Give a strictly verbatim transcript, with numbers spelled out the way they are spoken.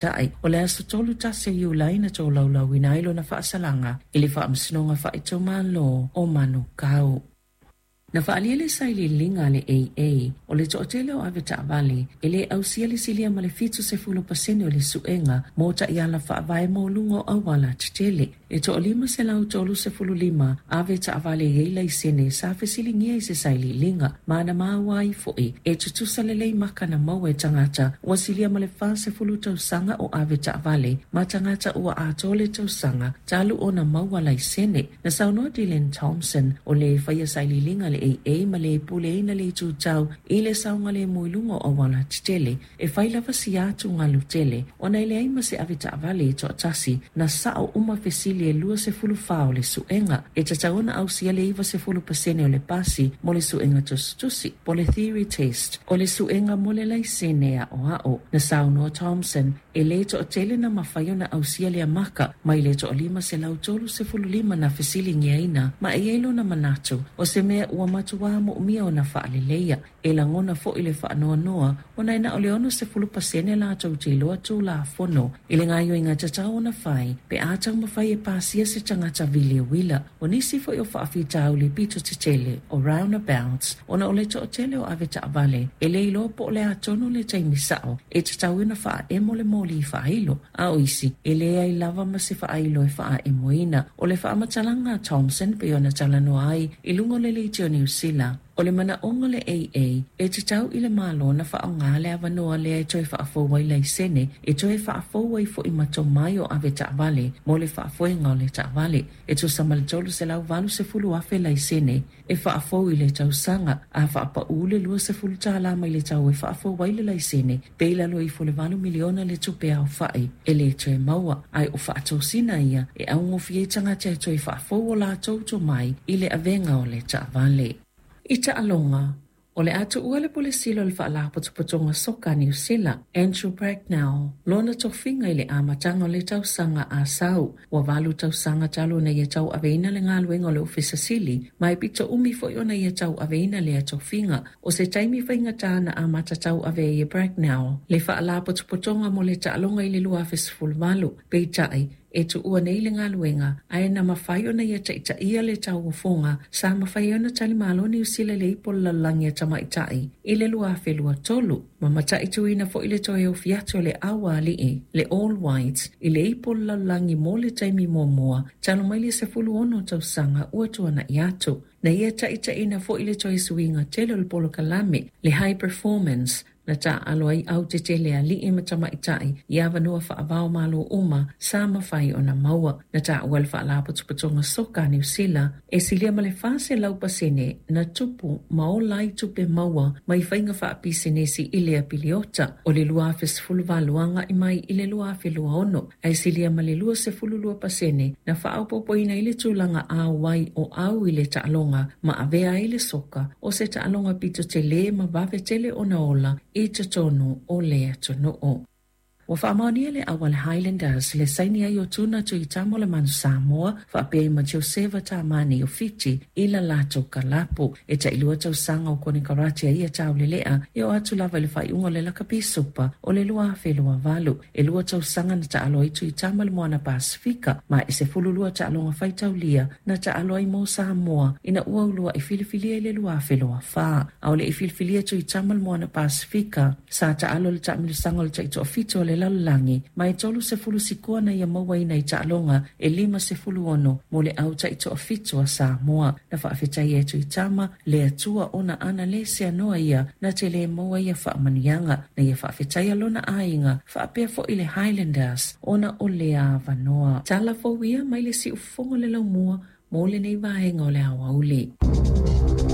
Taʻi, o le aso tolu tasi o Iulai na tolaulauina ai lona faasalaga i le Faamasinoga Faaitumalo o Manukau. Na faalia le sailiiliga a le A A o le toatele o avetaavale e le ausia le silia ma le fitu sefulu pasene o le suega mo taiala faavae mo luga o auala tetele. E toalima selau tolu sefulu lima avetaavale e iai laisene sa fesiligia i se sailiiliga ma na maua ai foʻi e tutusa lelei maka na maua e tagata ua silia ma le fa sefulu tausaga o avetaavale ma tagata ua atoa le tausaga talu ona maua laisene. Na saunoa Dylan Thompson o le faia sailiiliga le A A ma le puleina le tutau i le saogalemu i luga o auala tetele e fai lava sia atu galu tele ona e leai ma se avetaavale e toatasi na sao uma fesili e lua sefulu fa o le suega e tatau ona ausia le iva sefulu pasene o le pasi mo le suega tusitusi po le theory test o le suega mo le laisene aʻoaʻo. Na saunoa Thompson e le toatele na mafai ona ausia lea maka mai le toalima selau tolu sefulu lima na fesiligiaina ma e iai lona manatu o se mea ua matuā moomia ona faaleleia e lagona foʻi le faanoanoa ona e na o le ono sefulu pasene latou te iloa tulafono i le gaoioiga tatau ona fai pe a taumafai e pasia se tagata vili uila. O nisi foʻi o faafitauli pito tetele o roundabouts ona o le toatele o avetaavale e le iloa po o le atonu le taimi sao e tatau ona faaemo le moli faailo a o isi e leai lava ma se faailo e faaemoina. O le faamatalaga a Thompson pei ona talanoa ai i luga o le leitio Niu Sila o le manaoga le A A e tatau i le malo na faaaoga le avanoa lea e toe faafou ai laisene e toe faafou ai foʻi ma tomai o avetaavale mo le faafoega o le taavale e tusa ma le tolu selau valu sefulu afe laisene e faafou i le tausaga a faapaū le lua sefulu tālā mai le tau e faafou ai le laisene pe i lalo ifo le valu miliona le tupe aofaʻi e le toe maua ae o faatosina ia e augofie ai tagata e toe faafou o latou tomai i le avega o le taavale. I taaloga, o le atuua le pulesilo o le faalapotopotoga soka a Niu Sila, Andrew Bracknell, lona tofiga i le amataga o le tausaga a sau. Ua valu tausaga talu ona ia tauaveina le galuega o le ofisa sili, ma e pito umi foʻi ona ia tauaveina lea tofiga. O se taimi faigata na amata tauave ai e Bracknell le faalapotopotoga mo le taaloga i le lua afe sefulu valu, peitai e tuua nei le galuega ae na mafai ona ia taʻitaʻia le tauofoga sa mafai ona talimalo Niu Sila le ipu o le lalolagi a tamaitaʻi i le lua afe lua tolu. Ma mataituina foʻi le toe ofi atu o le aualii le All Whites i le ipu o le lalolagi mo le taimi muamua talu mai le sefulu ono tausaga ua tuanaʻi atu. Na ia taʻitaʻina foʻi le toe suiga tele o le polokalame le High Performance na taalo ai au tetele alii ma tamaitaʻi i avanoa faavao malo uma sa mafai ona maua. Na taua le faalapotopotoga soka a Niu Sila e silia ma le fa selau pasene na tupu ma ola ai tupe maua mai faiga faapisenesi i le apiliota o le lua afe sefulu valu agaʻi mai i le lua afe lua ono ae silia ma le lua sefulu lua pasene na faaopoopoina ai le tulaga auai o au i le taaloga ma avea ai le soka o se taaloga pito tele ma vave tele ona ola i totonu o le atunuu. Ua faamaonia le au a le Highlanders le saini ai o Tuna Tuitama o le Manu Samoa faapea ai ma Joseva Tamani o Fiti i la latou kalapu. E taʻilua tausaga o konekarate a ia taulelea e oo atu lava i le faaiuga o le lakapi supa o le lua afe lua valu. E lua tausaga na taalo ai Tuitama le Moana Pasifika ma e sefulu lua taaloga faitaulia na taalo ai mo Samoa ina ua ulua i filifilia i le lua afe lua fa. A o le i filifilia Tuitama le Moana Pasifika sa taalo le taamilosaga o le taitoafitu o le lalolagi ma e tolu sefulu sikoa na ia mauaina i taaloga e lima sefulu ono mo le au taitoafitu a Samoa. Na faafetaia e Tuitama le Atua ona ana le seanoa ia na te le maua ia faamanuiaga na ia faafetaia lona aiga faapea foʻi le Highlanders ona o lea avanoa. Tala fou ia mai le siufofoga o le laumua mo lenei vaega o le aoauli.